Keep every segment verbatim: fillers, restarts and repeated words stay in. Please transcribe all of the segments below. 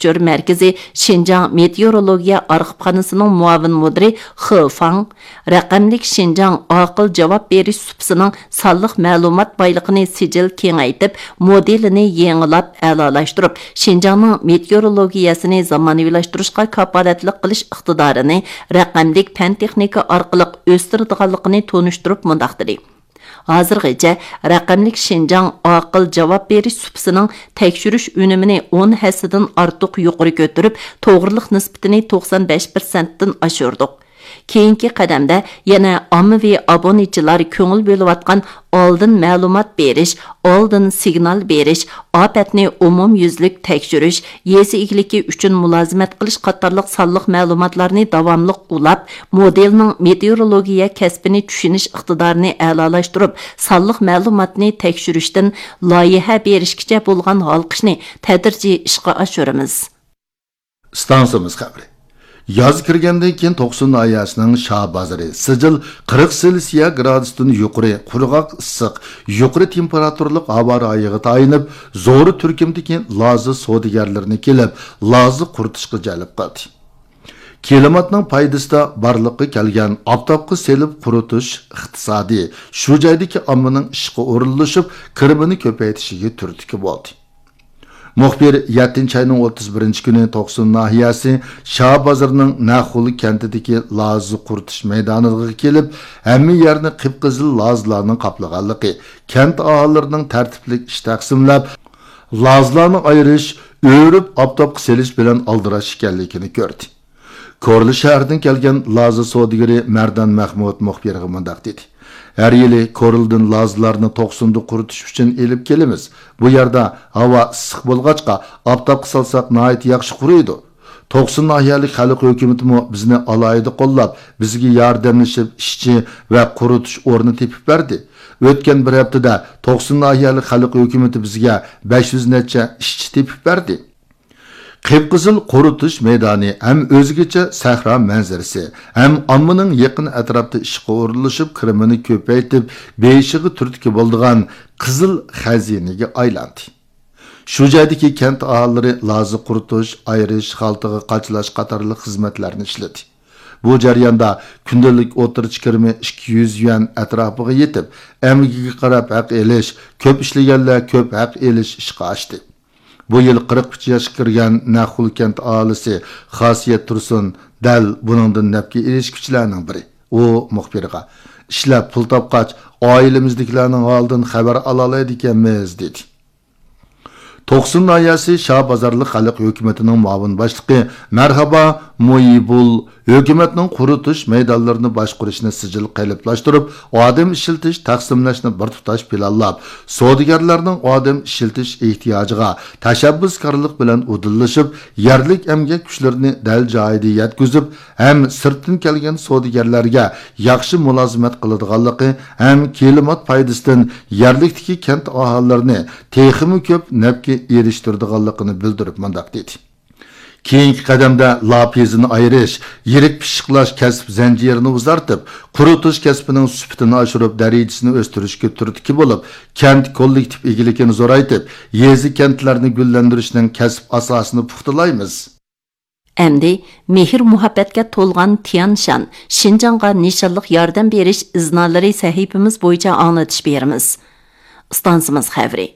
تەكشۈرۈش مەركىزى شىنجاڭ مېتېئورولوگىيە ئارخىپخانىسىنىڭ مۇئاۋىن مۇدىرى خې فاڭ، رەقەملىك شىنجاڭ ئاقىل جاۋاب بېرىش سۇپىسىنىڭ سانلىق مەلۇمات بايلىقىنى سىجىل كېڭەيتىپ، مودېلىنى يېڭىلاپ ئەلالاشتۇرۇپ، شىنجاڭنىڭ مېتېئورولوگىيەسىنى زامانىۋىلاشتۇرۇشقا كاپالەتلىك قىلىش ئىقتىدارىنى رەقەملىك پەن تېخنىكا ئارقىلىق ئۆستۈرىدىغانلىقىنى تونۇشتۇرۇپ مۇنداق دېدى. ھازىرغىچە رەقەملىك شىنجاڭ ئاقىل جاۋاب بېرىش سۇپىسىنىڭ تەكشۈرۈش ئۈنۈمىنى ئون ھەسسىدىن ئارتۇق يۇقىرى كۆتۈرۈپ، توغرىلىق نىسبىتىنى توقسان بەش پىرسەنتتىن ئاشۇردۇق. كېيىنكى قەدەمدە يەنە ئاممىۋى ئابۇنىچىلار كۆڭۈل بۆلۈۋاتقان ئالدىن مەلۇمات بېرىش، ئالدىن سىگنال بېرىش، ئاپەتنى ئومۇميۈزلۈك تەكشۈرۈش، يېزا ئىگىلىكى ئۈچۈن مۇلازىمەت قىلىش قاتارلىق سانلىق مەلۇماتلارنى داۋاملىق ئۇلاپ، مودېلنىڭ مېتېئورولوگىيە كەسپىنى چۈشىنىش ئىقتىدارىنى ئەلالاشتۇرۇپ، سانلىق مەلۇماتنى تەكشۈرۈشتىن لايىھە بېرىشكىچە بولغان ھالقىشنى تەدرىجىي ئىشقا ئاشۇرىمىز. ئىستانسىمىز خەۋىرى. ياز كىرگەندىن كېيىن توقسۇن ناھىيەسىنىڭ شاھ بازىرى سىجىل قىرىق سېلسىيە گرادۇستىن يۇقىرى قۇرغاق ئىسسىق، يۇقىرى تېمپېراتۇرىلىق ھاۋا رايىغا تايىنىپ، زور تۈركۈمدىكى لازا سودىگەرلىرىنى كېلىپ، لازا قۇرۇتۇشقا جەلپ قىلدى. كىلىماتنىڭ پايدىسىدا بارلىققا كەلگەن ئاپتاپقا سېلىپ قۇرۇتۇش ئىقتىسادى شۇ جايدىكى ئاممىنىڭ ئىشقا ئورۇنلىشىپ، كىرىمىنى كۆپەيتىشىگە تۈرتكە بولدى. مۇخبىر يەتتىنچى ئاينىڭ ئوتتۇز بىرىنچى كۈنى توقسۇن ناھىيەسى شاھ بازىرىنىڭ نەخۇل كەنتىدىكى لازا قۇرۇتۇش مەيدانىغا كېلىپ، ھەممە يەرنى قىپقىزىل لازىلارنىڭ قاپلىغانلىقى، كەنت ئاھالىلىرىنىڭ تەرتىپلىك ئىش تەقسىملەپ، لازىلارنى ئايرىش، ئۆرۈپ ئاپتاپقا سېلىش بىلەن ئالدىراش ئىكەنلىكىنى كۆردى. كورلا شەھىرىدىن كەلگەن لازا سودىگىرى مەردان مەخمۇت مۇخبىرغا مۇنداق دېدى: ھەر يىلى كورلىدىن لازىلارنى توقسۇندا قۇرۇتۇش ئۈچۈن ئېلىپ كېلىمىز. بۇ يەردە ھاۋا ئىسسىق بولغاچقا، ئاپتاپقا سالساق ناھايىتى ياخشى قۇرۇيدۇ. توقسۇن ناھىيەلىك خەلق ھۆكۈمىتىمۇ بىزنى ئالاھىدە قوللاپ، بىزگە ياردەملىشىپ ئىشچى ۋە قۇرۇتۇش ئورنى تېپىپ بەردى. ئۆتكەن بىر ھەپتىدە توقسۇن ناھىيەلىك خەلق ھۆكۈمىتى بىزگە بەش يۈز نەچچە ئىشچى تېپىپ بەردى. قىپقىزىل قۇرۇتۇش مەيدانى ھەم ئۆزگىچە سەھرا مەنزىرىسى، ھەم ئاممىنىڭ يېقىن ئەتراپتا ئىشقا ئورۇنلىشىپ، كىرىمىنى كۆپەيتىپ، بېيىشىغا تۈرتكە بولىدىغان قىزىل خەزىنىگە ئايلاندى. شۇ جايدىكى كەنت ئاھالىلىرى لازا قۇرۇتۇش، ئايرىش، خالتىغا قاچىلاش قاتارلىق خىزمەتلەرنى ئىشلىدى. بۇ جەرياندا كۈندىلىك ئوتتۇرىچە كىرىمى ئىككى يۈز يۈەن ئەتراپىغا يېتىپ، ئەمگىكىگە قاراپ ھەق ئېلىش، كۆپ ئىشلىگەنلەر كۆپ ھەق ئېلىش ئىشقا ئاشتى. بۇ يىل قىرىق ئۈچ ياشقا كىرگەن نەخۇل كەنت ئاھالىسى خاسىيەت تۇرسۇن دەل بۇنىڭدىن نەپكە ئېرىشكۈچىلەرنىڭ بىرى. ئۇ مۇخبىرغا، ئىشلەپ پۇل تاپقاچ، ئائىلىمىزدىكىلەرنىڭ ھالىدىن خەۋەر ئالالايدىكەنمىز، دېدى. توقسۇن ناھىيەسى شاھ بازارلىق خەلق ھۆكۈمىتىنىڭ مۇئاۋىن باشلىقى مەرھابا مۇيىبۇل ھۆكۈمەتنىڭ قۇرۇتۇش مەيدانلىرىنى باشقۇرۇشنى سىجىل قېلىپلاشتۇرۇپ، ئادەم ئىشلىتىش، تەقسىملەشنى بىر تۇتاش پىلانلاپ، سودىگەرلەرنىڭ ئادەم ئىشلىتىش ئېھتىياجىغا تەشەببۇسكارلىق بىلەن ئۇدۇللىشىپ، يەرلىك ئەمگەك كۈچلىرىنى دەل جايىدا يەتكۈزۈپ، ھەم سىرتتىن كەلگەن سودىگەرلەرگە ياخشى مۇلازىمەت قىلىدىغانلىقى ھەم كىلىمات پايدىسىدىن يەرلىكتىكى كەنت ئاھالىلىرىنى تېخىمۇ كۆپ نەپكە ئېرىشتۈرىدىغانلىقىنى بىلدۈرۈپ مۇنداق دېدى: كېيىنكى قەدەمدە لاپىزىنى ئايرىش، يىرىك پىششىقلاش كەسىپ زەنجىرىنى ئۇزارتىپ، قۇرۇتۇش كەسپىنىڭ سۈپىتىنى ئاشۇرۇپ، دەرىجىسىنى ئۆستۈرۈشكە تۈرتكە بولۇپ، كەنت كوللېكتىپ ئىگىلىكىنى زورايتىپ، يېزا، كەنتلەرنى گۈللەندۈرۈشنىڭ كەسىپ ئاساسىنى پۇختىلايمىز. ئەمدى مېھىر-مۇھەببەتكە تولغان تيەنشان، شىنجاڭغا نىشانلىق ياردەم بېرىش ئىزنالىرى سەھىپىمىز بويىچە ئاڭلىتىش بېرىمىز. ئىستانسىمىز خەۋىرى.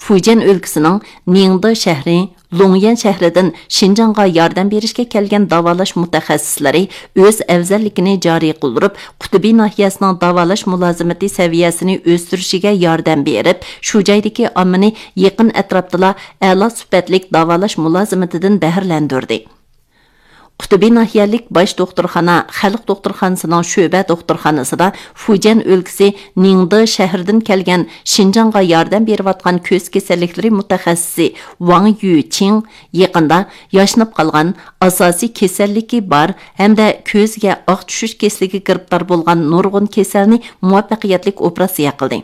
فۇجيەن ئۆلكىسىنىڭ نىڭدې شەھىرى، لۇڭيەن شەھىرىدىن شىنجاڭغا ياردەم بېرىشكە كەلگەن داۋالاش مۇتەخەسسىسلىرى ئۆز ئەۋزەللىكىنى جارى قىلدۇرۇپ، قۇتبى ناھىيەسىنىڭ داۋالاش مۇلازىمىتى سەۋىيەسىنى ئۆستۈرۈشىگە ياردەم بېرىپ، شۇ جايدىكى ئاممىنى يېقىن ئەتراپتىلا ئەلا سۈپەتلىك داۋالاش مۇلازىمىتىدىن بەھرىلەندۈردى. قۇتبى ناھىيەلىك باش دوختۇرخانا خەلق دوختۇرخانىسىنىڭ شۆبە دوختۇرخانىسىدا فۇجيەن ئۆلكىسى نىڭدې شەھىرىدىن كەلگەن شىنجاڭغا ياردەم بېرىۋاتقان كۆز كېسەللىكلىرى مۇتەخەسسىسى ۋاڭ يۈچىڭ يېقىندا ياشناپ قالغان، ئاساسىي كېسەللىكى بار ھەمدە كۆزىگە ئاق چۈشۈش كېسىلىگە گىرىپتار بولغان نۇرغۇن كېسەلنى مۇۋەپپەقىيەتلىك ئوپېراتسىيە قىلدى.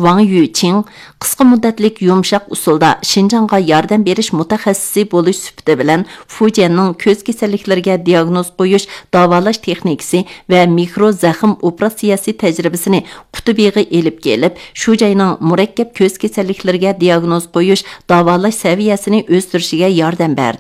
ۋاڭ يۈچىڭ قىسقا مۇددەتلىك يۇمشاق ئۇسۇلدا شىنجاڭغا ياردەم بېرىش مۇتەخەسسىسى بولۇش سۈپىتى بىلەن فۇجيەننىڭ كۆز كېسەللىكلىرىگە دىئاگنوز قويۇش، داۋالاش تېخنىكىسى ۋە مىكرو زەخىم ئوپېراتسىيەسى تەجرىبىسىنى قۇتۇبىغا ئېلىپ كېلىپ، شۇ جاينىڭ مۇرەككەپ كۆز كېسەللىكلىرىگە دىئاگنوز قويۇش، داۋالاش سەۋىيەسىنى ئۆستۈرۈشىگە ياردەم بەردى.